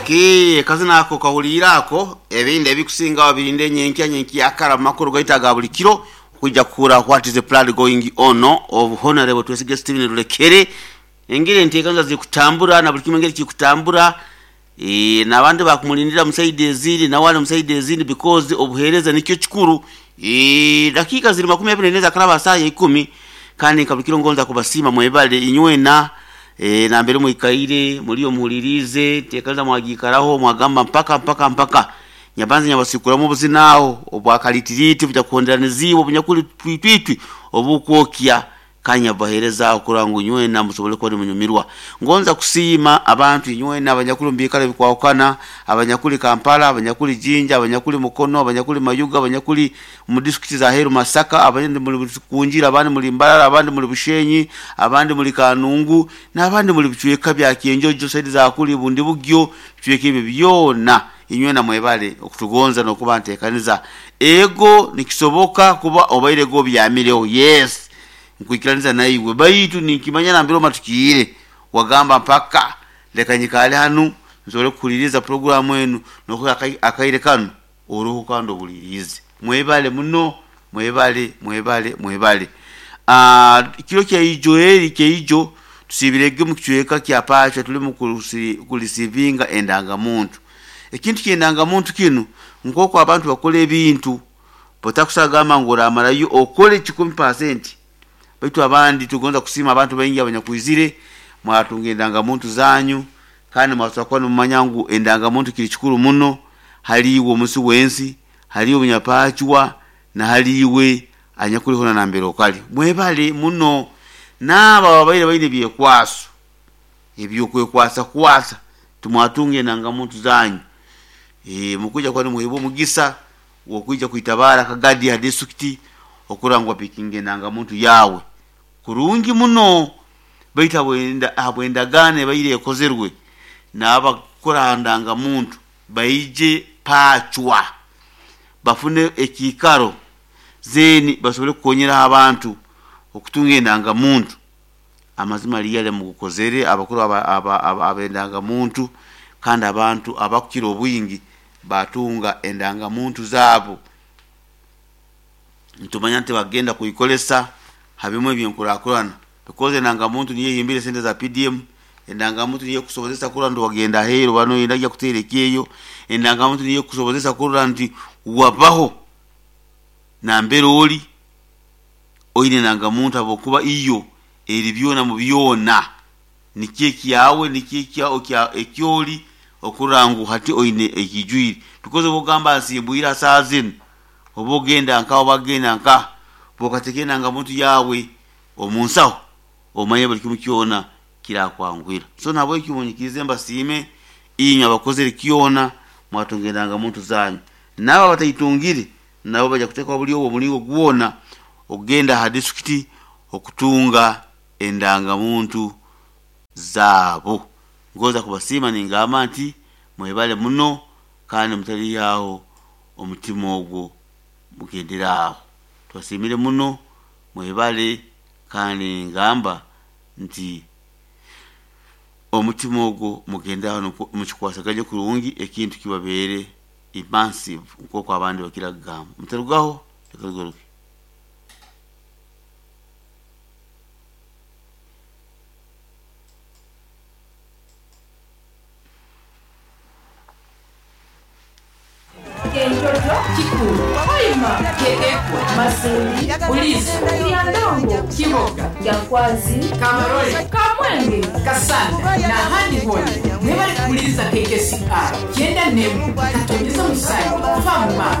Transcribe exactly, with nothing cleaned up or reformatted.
Okay, kazina ako kahulira ako ebindi ebikusinga wabirinde nyenkya nyenkya akara makuru gaita ga buli kiro kujja kura what is the plan going on of Honorable Twesige Steven Rulekere engere ntekanza zikutambura na buli kimwe ngeri kikutambura e, nabandi bakumulindira musaidi ezindi na wale musaidi ezindi because obuhereza nikyo kikuru e, dakika ziri makumi abiri neza karaba saa ikumi kandi kabikiro ngonza kubasima mwebale inywena e, na mbere mwikaire muliyo muhulirize tekanza mwagikaraho mwagamba mpaka mpaka mpaka nyabanza nyabasikuramu obuzinaho obwakalitiriti bujakuhonderaniziibwa obunyakuli twitwitwi obukwokya kanya bahereza okura ngu nywena musobole kuba nimunyumirwa. Ngonza kusiima abantu nywena abanyakuli mubikalo bikwawukana, abanyakuli Kampala, abanyakuli Jinja, abanyakuli Mukono, abanyakuli Mayuga, abanyakuli mu disitulikiti za Heru Masaka, abandi muli Kunjira, abandi muli Mbarara, abandi muli Bushenyi, abandi muli Kanungu n'abandi muli bicweka bya Kyenjojo saidi za kuli Bundi Bugyo, bicweka ebyo byona inywena mwebale okutugonza n'okuba nteekaniza. Ego nikisoboka kuba obaire go byamireho, yes nkwikiraniza naiwe baitu ninkimanya nambere omatukiire wagamba mpaka leka nyikale hanu nsobole kuhuliriza programu enu nokuha akaire kanu oruhu kandi obulirize. Mwebale muno, mwebale mwebale mwebale. Ah, kiro kyaijo eri kyaijo tusibirege mu kicweka kya Pacha tulimu kulisivinga endangamuntu. Ekintu ky'endangamuntu kinu nk'oku abantu bakora ebintu botakusagamba ngu oramarayo okole kikumi pasenti baitu abandi tugonza kusima abantu baingi abanyakwizire mwatunga endangamuntu zanyu kandi mwasobora kuba nimumanya ngu endangamuntu kiri kikuru muno haliiwe omusi w'ensi, haliiwe omunyapachwa na haliiwe anyakuliho na nambere okali. Mwebale muno n'abo ababaire baine ebyekwaso ebyokwekwasa kwasa tumwatunga endangamuntu zanyu. E, mukuja kuba nimuheebwa omugisa wokwija kwitabara akagadi ha disitulikiti okura ngu bapikinga endangamuntu yawe kurungi muno baitu habw'endagaano ebaire ekozerwe n'abakukora ha ndangamuntu baije Pachwa bafune ekiikaro zeeni basobole kukonyeraho abantu okutunga endangamuntu. Amazima liyale mugukozere abakuru ab'endangamuntu kandi abantu abakukira obwingi batunga endangamuntu zaabo. Nitumanya nti bagenda kuikolesa habimu ebyenkurakurana because endangamuntu niyo ehimbire sente za P D M, endangamuntu niyo ekusobozesa kurora nti wagenda aheeru bano oyenda kujya kuteera ekyeyo, endangamuntu niyo ekusobozesa kurora nti wabaho nambere ori oine endangamuntu habwokuba iyo eri byona mu byona nikyo ekyawe nikyo ekyori okurora ngu hati oine ekijwire because oba ogamba nsimbwire saaha zinu oba ogenda nka oba agenda nka bokateeka endangamuntu yawe omu nsaho omanye buli kimu kyona kirakwanguhira. So nahabwekyo munyikirize mbasiime inywe abakozere kyona mwatunga endangamuntu zanyu n'abo abataitungire nabo bajja kuteekwa buli obwo omulingo gwona okugenda ha disitulikiti okutunga endangamuntu zaabo. Ngoza kubasiima ningamba nti mwebale muno kandi mutalihaho omutima ogwo mugendere aho. Tubasiimire muno mwebale kandi ngamba nti omutima ogwo mugende aho mukikwasaganye kurungi ekintu kibabeere immersive nk'oku abandi bakira kugamba. Mutarugaho leka tugaruke. Kenjojo, Kikulu, Hoima, Kyekekwa, Masindi, Buliisa, Kiryandongo, Kiboga, Kyankwanzi, Kabarole, Kamwenge, Kasanda n'ahandi hona mwebale kuwuliriza K K C R kyenda n'emu katonyeza musanju fama.